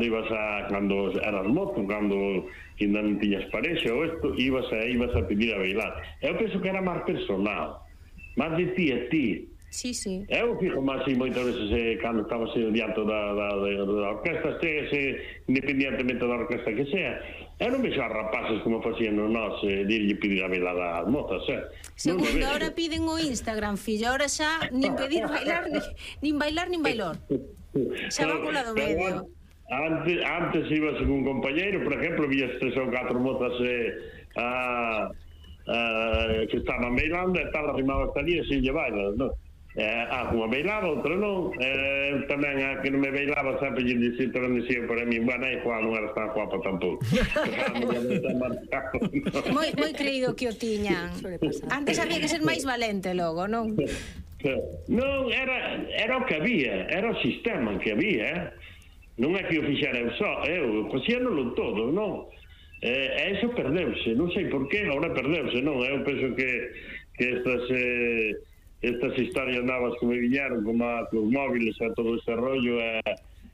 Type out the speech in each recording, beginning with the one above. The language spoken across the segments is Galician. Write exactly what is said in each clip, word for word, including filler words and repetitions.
ibas a, cando eras mozo, cando ainda non tiñas parexa ou isto, ibas a, ibas a pedir a bailar. Eu penso que era máis personal, máis de ti a ti. Sí, sí. Eu fico máis así moitas veces eh, cando estaba así diante da, da, da, da orquesta, se, independientemente da orquesta que sea, eu non vexo a rapaces como facían nós eh, dirlle pedir a bailar ás mozas, eh? Segundo, ahora piden o Instagram, fillo, ahora xa nin pedir bailar, nin, nin bailar, nin bailor. Xa va co lado medio. Antes, antes ibas con un compañeiro, por exemplo, vías tres ou catro mozas eh, a, a, que estaban bailando e tal, arrimaba hasta ali e sin lle bailas, non? Eh, ah, unha bailaba, outra non. Eh, tamén a que non me bailaba sempre lle dicía, tamén dicía para mí, bueno, aí Juan non era tan guapa tampouco. moi, moi creído que o tiñan. Antes había que ser máis valente logo, non? Non, era, era o que había, era o sistema que había, eh? Non é que o fixera eu só, eu facíanolo todo, non? Eh, e iso perdeuse, non sei por qué, agora perdeuse, non? Eu penso que, que estas eh, estas historias novas que me viñeron como a, os móviles e todo ese rollo e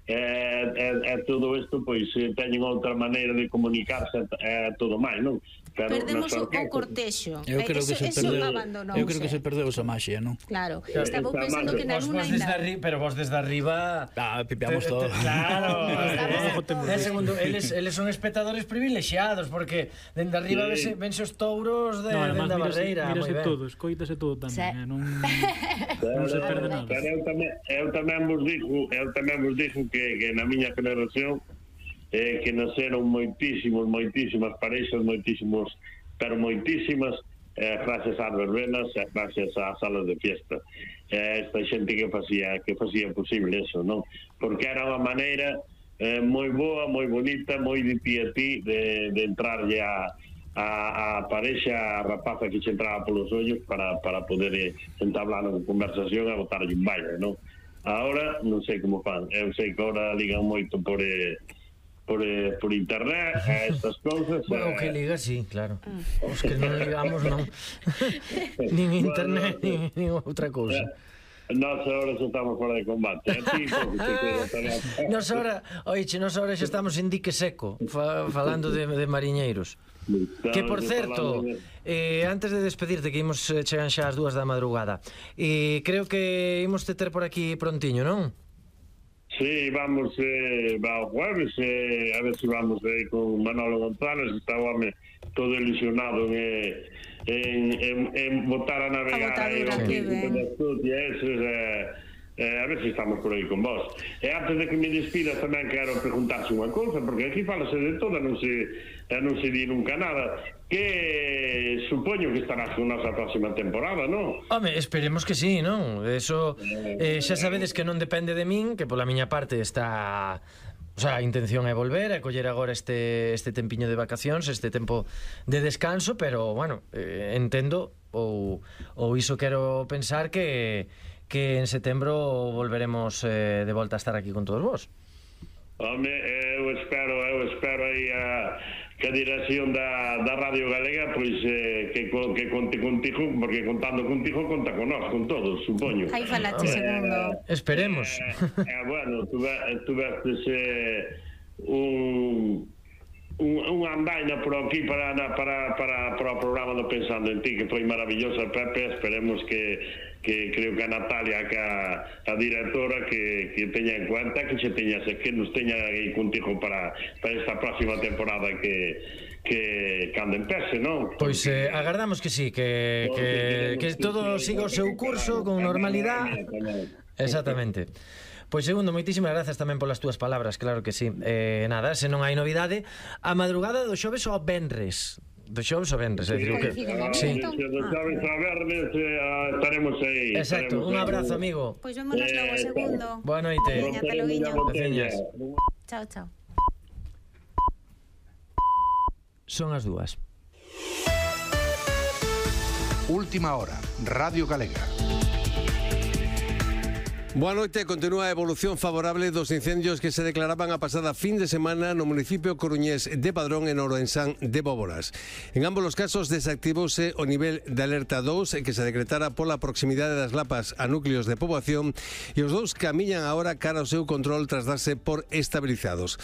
eh, eh, eh, todo isto pois eh, teñen outra maneira de comunicarse e eh, todo máis, non? Pero perdemos o, o cortexo. Eu creo eso, que se perdeu. Eu creo que se eh. perdeu esa maxia, non? Claro. Estaba pensando que na luna ainda. Pero vos desde arriba, ah, pipeamos todo. Claro. Eh, segundo, eles eles son espectadores privilexiados porque dende arriba sí. vense os touros de no, da barreira. Mírase todo, escoítase todo tamén, non non se perde nada. Pero eu tamén eu tamén vos digo, eu tamén vos digo que que na miña generación eh, que nasceron moitísimos, moitísimas pareixas, moitísimos, pero moitísimas, eh, gracias ás verbenas e gracias ás salas de fiesta. Eh, esta xente que facía que facía posible eso, non? Porque era unha maneira eh, moi boa, moi bonita, moi de ti a ti, de, de entrarlle a, a, a parexa, a rapaza que se entraba polos ollos para, para poder eh, entablar unha conversación e botarlle un baile, non? Ahora, non sei como fan, eu sei que ahora ligan moito por... Eh, Por, eh, por internet a estas cousas. Bueno, o que liga, sí, claro. Os que non ligamos, non. Nin internet, bueno, nin, nin outra cousa. Nós agora xa estamos fora de combate. Nós agora, oiche, nós agora xa estamos en dique seco, fa, falando de, de mariñeiros. Que, por certo, eh, antes de despedirte, que imos chegan xa as dúas da madrugada, eh, creo que imos te ter por aquí prontiño, non? Sí, vamos eh, va o jueves eh, a ver se si vamos eh, con Manolo González, que está home todo ilusionado en, en, en, en botar a navegar a aí eh, eh, a ver se si estamos por aí con vos. E antes de que me despidas tamén quero preguntarse unha cousa, porque aquí falase de todo, non se, non se di nunca nada, que supoño que estarás con nosa próxima temporada, non? Home, esperemos que sí, non? Eso, eh, xa sabedes que non depende de min, que pola miña parte está... O sea, a intención é volver, é coller agora este, este tempiño de vacacións, este tempo de descanso, pero, bueno, eh, entendo, ou, ou iso quero pensar que, que en setembro volveremos eh, de volta a estar aquí con todos vos. Home, eu espero, eu espero aí a... que a dirección da, da Radio Galega pois eh, que, que conte contigo, porque contando contigo conta con nós, con todos, supoño. Aí falaste, eh, segundo. Esperemos. Eh, eh, bueno, tu, tu vestes eh, un un, unha andaina por aquí para, para, para, para o programa do Pensando en Ti, que foi maravillosa, Pepe. Esperemos que, que creo que a Natalia, que a, a directora, que, que teña en cuenta, que se teña, que nos teña aí contigo para, para esta próxima temporada que, que cando empece, non? Pois eh, agardamos que sí, que, que, que todo siga o seu curso con normalidade. Exactamente. Pois segundo, moitísimas grazas tamén polas túas palabras, claro que sí. Eh, nada, se non hai novidade, a madrugada do xoves ao venres. Do xoves ao venres, é dicir, que sí. Do xoves ao venres eh, estaremos aí. Exacto, un abrazo, amigo. Pois vémonos logo, segundo. Boa noite. Veña, ata loguiño. Chao, chao. Son as dúas. Última hora, Radio Galega. Boa noite, continúa a evolución favorable dos incendios que se declaraban a pasada fin de semana no municipio coruñés de Padrón e no Ourensán de Bóboras. En ambos os casos desactivouse o nivel de alerta dous que se decretara pola proximidade das lapas a núcleos de poboación e os dous camiñan agora cara ao seu control tras darse por estabilizados.